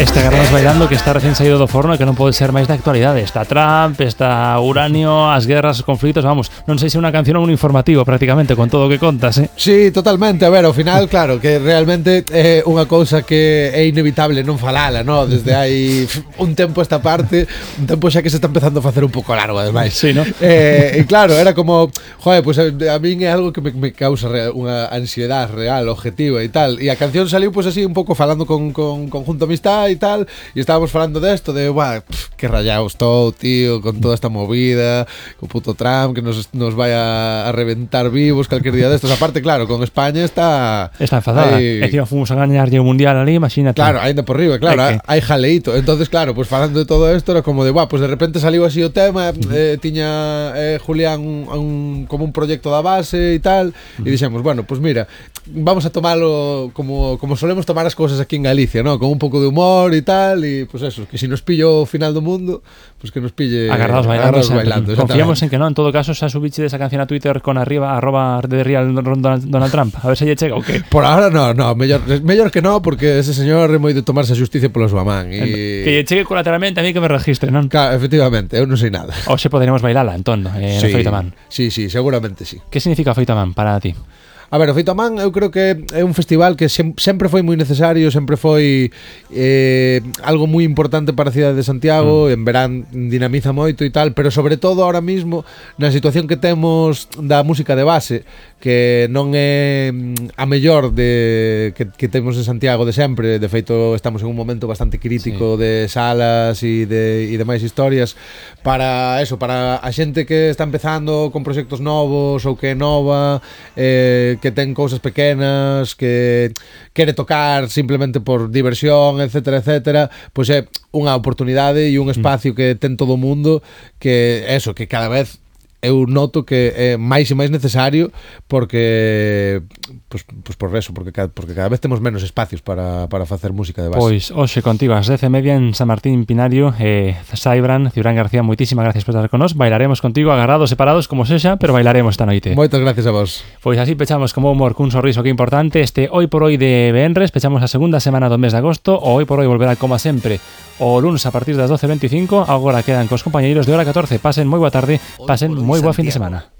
Este Agarrados Bailando que está recién saído do forno e que non pode ser máis da actualidade. Está Trump, está Uranio, as guerras, os conflitos, vamos, non sei se é unha canción ou un informativo prácticamente con todo o que contas, Sí, totalmente, a ver, ao final, claro, que realmente é unha cousa que é inevitable non falala, no? Desde hai un tempo esta parte, un tempo xa que se está empezando a facer un pouco largo, ademais. Sí, ¿no? E claro, era como, joder, pues a min é algo que me causa unha ansiedade real, objetiva e tal, e a canción saliu pues así un pouco falando con Conjunto Amistad e tal, e estábamos falando desto de, que rayado estou, tío, con toda esta movida, co puto Trump que nos vai a reventar vivos calquer día destos. Aparte, claro, con España está enfadada. E encima fomos a gañarlle o mundial ali, imagínate. Claro, ainda por riba, claro, hai jaleito. Entonces, claro, pues falando de todo isto era como de, pues de repente saliu así o tema, tiña Julián como un proxecto da base e tal, e dixemos, bueno, pues mira, vamos a tomalo como solemos tomar as cousas aquí en Galicia, ¿no? Con un pouco de humor e tal, e pues eso, que si nos pillo o final do mundo, pues que nos pille Agarrados bailando. Confiamos en que no, en todo caso, xa subiche desa canción a Twitter con arriba @DeRealDonald Trump, a ver se lle chega ou que. Por ahora no, mellor que no, porque ese señor é moi de tomarse a xusticia pola súa man e que lle chegue colateralmente a mí que me registre, non? Claro, efectivamente, eu non sei nada. Ou se poderemos bailala, entón, no Feito a Man. Sí, seguramente sí. Que significa Feito a Man para ti? A ver, o Feito a Man eu creo que é un festival que sempre foi moi necesario, sempre foi algo moi importante para a cidade de Santiago, en verán dinamiza moito e tal, pero sobre todo ahora mismo na situación que temos da música de base, que non é a mellor que temos en Santiago de sempre. De feito, estamos en un momento bastante crítico de salas e demais historias para a xente que está empezando con proxectos novos ou que é nova, que ten cousas pequenas, que quere tocar simplemente por diversión, etcétera, etcétera, pois é unha oportunidade e un espacio que ten todo o mundo, que cada vez eu noto que é máis e máis necesario porque cada vez temos menos espacios para facer música de base. Pois hoxe contigo ás 10:30 en San Martín Pinario, Saibran, Cibrán García, moitísimas gracias por estar con nós. Bailaremos contigo agarrados, separados como sexa, pero bailaremos esta noite. Moitas gracias a vos. Pois así pechamos como humor cun sorriso que importante este Hoy por Hoy de Venres. Pechamos a segunda semana do mes de agosto. O Hoy por Hoy volverá como sempre o lunes a partir das 12:25. Agora quedan cos compañeiros de hora 14. Pasen moi boa tarde, pasen moi boa fin de semana.